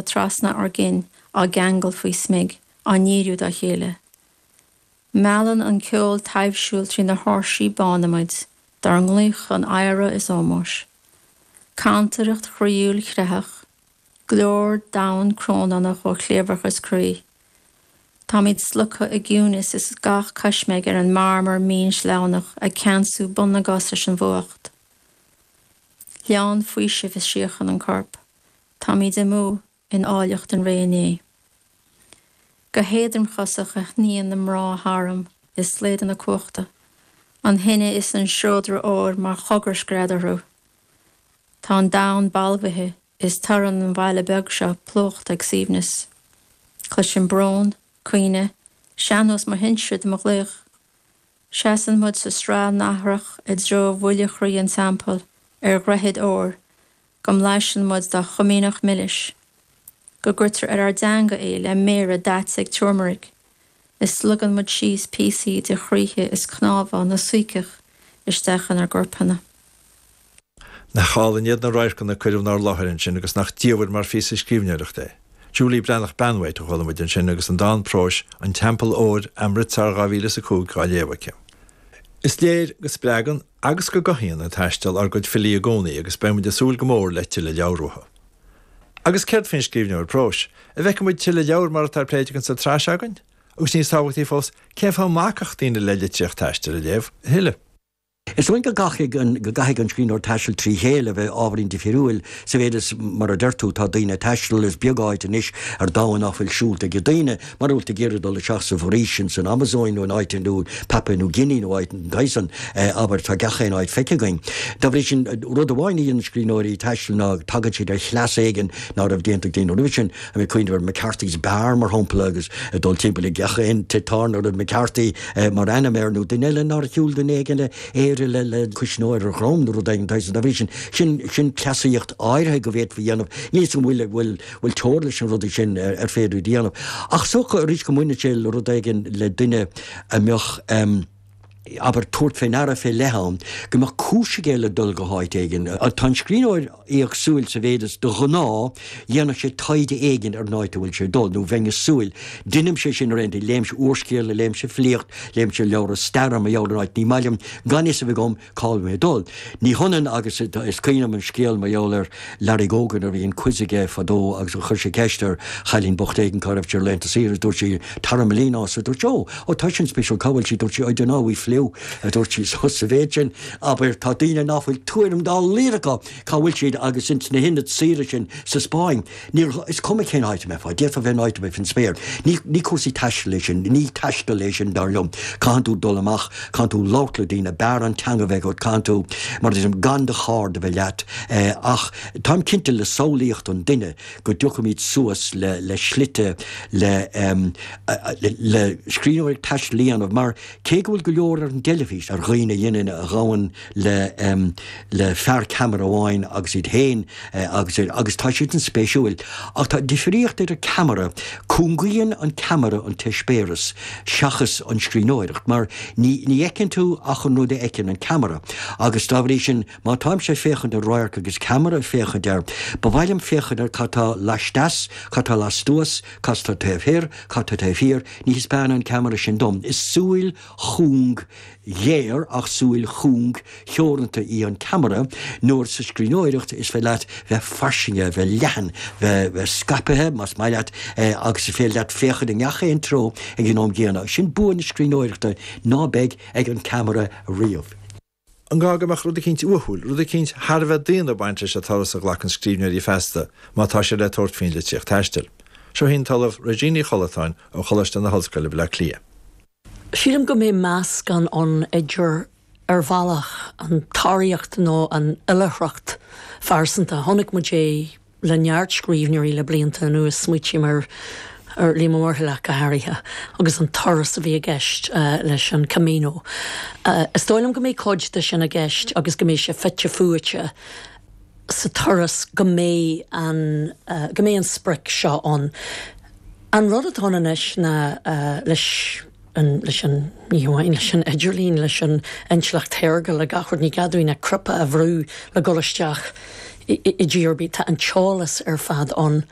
Trasna ár gcinn, á gceangal faoi smig, á ndíriú dá chéile. Meallann an ceol taibhsiúil trí na háirsí bána muid, dár nglaoch chun adhradh is ómóis. Cantaireacht chroíúil chreathach, glór domhain crónánach ó chliabhrach is croí. Táimid slogtha i gciúnas is gach coisméig ar an marmar mín sleamhnach ag ceansú bun na gcos leis an bhfuacht. Leánn faoiseamh is síocháin an corp. Táimid amú in áilleacht an ré inné. Go héadromchosach a shníonn na mná tharam i slaoda na cumhachta, an thine is an seodra óir mar chogarscread orthu. Tá an domhan balbhaithe is torann an bhaile beag seo plúchta ag suaimhneas. Cloisim brón, caoineadh, sean-nós mo shinsir do mo ghlaoch. Seasann muid sa sraith nathrach i dtreo bhuille chroí an teampaill ar dhroichead óir go mblaiseann muid dá choimíneach milis, go gcuirtear ar ár dteanga é le méara daite ag tiúrmaraigh, is slogann muid síos píosaí de chroíthe is cnámha na Suíceach isteach inár gcorpanna. Nach álainn iad na radharcanna a cuireadh inár láthair ansin agus nach diamhair mar phíosa scríbhneoireachta é. Julie Breathnach Banwait a chuala muid ansin agus an dán próis An Teampall Óir, Amritsar 2005 á léamh aici. Is léir go spreagann agus go gcothaíonn an taisteal ár gcuid filí i gcónaí agus beidh muid ag súil go mór le tuilleadh leabhar uathu. Agus céard faoin scríbhneoir próis? An bhfeicfidh muid tuilleadh leabhar mar atá pléite againn sa tsraith seo againn? Agus níos tábhachtaí fós, cén fáth a mbacfadh daoine le litríocht taistil a léamh a thuilleadh? Is dóigh go gcaithfidh an, go gcaithfidh an scríbhneoir taistil trí chéile a bheith ábhairín difiriúil sa mhéid is, mar a deir tú, tá daoine ag taisteal, is beag áit anois ar domhan nach bhfuil siúlta ag daoine. Mara bhfuil tú ag iarraidh dul isteach sa bhforaois in san Amazóin nó in áit nó Papua New Guinea nó áit den tsaghas san, abair, tá gach aon áit feicthe againn. Dá bhrí sin, rud amháin a dhéanann scríbhneoirí taistil ná tagann siad ar chleas éigin ná raibh déanta ag daoine roimhe sin. Tá mé ag cuimhneamh ar McCarthy's Bar, mar shampla, agus ag dul timpeall ag gach aon tigh tábhairne a raibh McCarthy mar ainm air, nó duine eile nár shiúil duine éigin le Éire le le cuisneoir ar a dhrom nó rud éigin den tsaghas san. Dá bhrí sin, sin sin cleasaíocht áirithe go bhféadfaí a dhéanamh. Níl 'fhios agam bhfuil bhfuil bhfuil teora leis na rudaí sin ar féidir iad a dhéanamh. Ach is dócha arís go mbaineann sé le rud éigin le duine a mbeadh, abair, tabhairt fé ndeara fé leith ann, go mbeadh cúis aige le dul go háit éigin. Tá an scríbhneoir éagsúil sa mhéid is, de ghnáth, dhéanfadh sé taighde éigin ar an áit a bhfuil sé ag dul, nó bheinn ag súil. Deinimse sin ar aon nós, léimse úrscéal, léimse filíocht, léimse leabhra staire mar gheall ar an áit. Ní maith liom gan fhios a bheith agam Cá bhfuil mé ag dul? Ní hionann agus is cuimhin liom an scéal mar gheall ar Larry Gogan a bhí an quiz aige fadó agus chuir sé ceist ar chailín bocht éigin cá raibh sí ar laethanta saoire agus dúirt sí Torremolinos a dúirt sé ó ó tá sin spéisiúil cá bhfuil sí dúirt sí I don't know we flew a dúirt sí so sa mhéid sin abair tá daoine ná fuil tuairim dá laghad acu cá bhfuil siad agus ins na hionaid saoire sin sa Spáinn Níor, is cuma cén áit a mbeifeá, d'fhéadfá bheith in áit ar bith faoin spéir. Ní, ní cúrsaí taistil é sin, ní taisteal é sin dar liom. Caitheann tú dul amach, caitheann tú labhairt le daoine, b'fhearr an teanga a bheith agat, caitheann tú, mar a deirim, gan do chárta a bheith leat. Ach táim cinnte le samhlaíocht an duine go dtiocfaimid suas le, le slite le, le scríbhneoireacht taistil a dhéanamh mar cé go bhfuil go leor ar an dteilifís ar dhaoine a dhéanann, a ghabhann le le fear ceamara amháin agus iad féin agus agus tá siad an spéisiúil. Ach tá difríocht idir ceamara, cúngaíonn an ceamara an t-eispéireas seachas an scríbhneoireacht mar ní ní fheiceann tú ach an rud a fheiceann an ceamara agus dá bhrí sin má táimse ag féachaint ar radharc agus ceamara ag féachaint air ba mhaith liom féachaint ar cad tá laisteas, cad tá lastuas, cad tá taobh thoir, cad tá taobh thiar, ní thaispeánann an ceamara sin dom. Is súil chúng ghéar ach súil chúng theoranta í an ceamara, nuair sa scríbhneoireacht is féidir leat bheith fairsinge, bheith leathan, bheith bheith scaipthe, más maith leat, agus is féidir leat féachaint i ngach aon treo ag an am gcéanna. Sin bua na scríbhneoireachta ná beidh ag an ceamara riamh. An gá go mbeadh rud eicínt uathúil, rud eicínt thar a bheith daonna ag baint leis an turas a ghlacann scríbhneoirí feasta má tá siad le tabhairt faoin litríocht taistil? Seo í an tOllamh Róisín Ní Chollatáin ó Choláiste na hOllscoile, Baile Átha Cliath. Sílim go mbeidh meascán ann idir, ar bhealach, an tsáraíocht nó an oilithreacht phearsanta. Chonaic muid é le neart scríbhneoirí le blianta anuas, smaoitím ar ar Liam Ó Muirthile go háirithe, agus an turas a bhí i gceist leis an Camino. Is dóigh liom go mbeidh cuid de sin i gceist agus go mbeidh sé fite fuaite sa turas, go mbeidh an go mbeidh an sprioc seo ann. An rud atá ann anois ná leis an, leis an, ní hamháin leis an idirlíon, leis an intleacht shaorga, le gach rud, ní gá dúinn ach cnaipe a bhrú le dul isteach i dtír ar bith. Tá an t-eolas ar fad ann.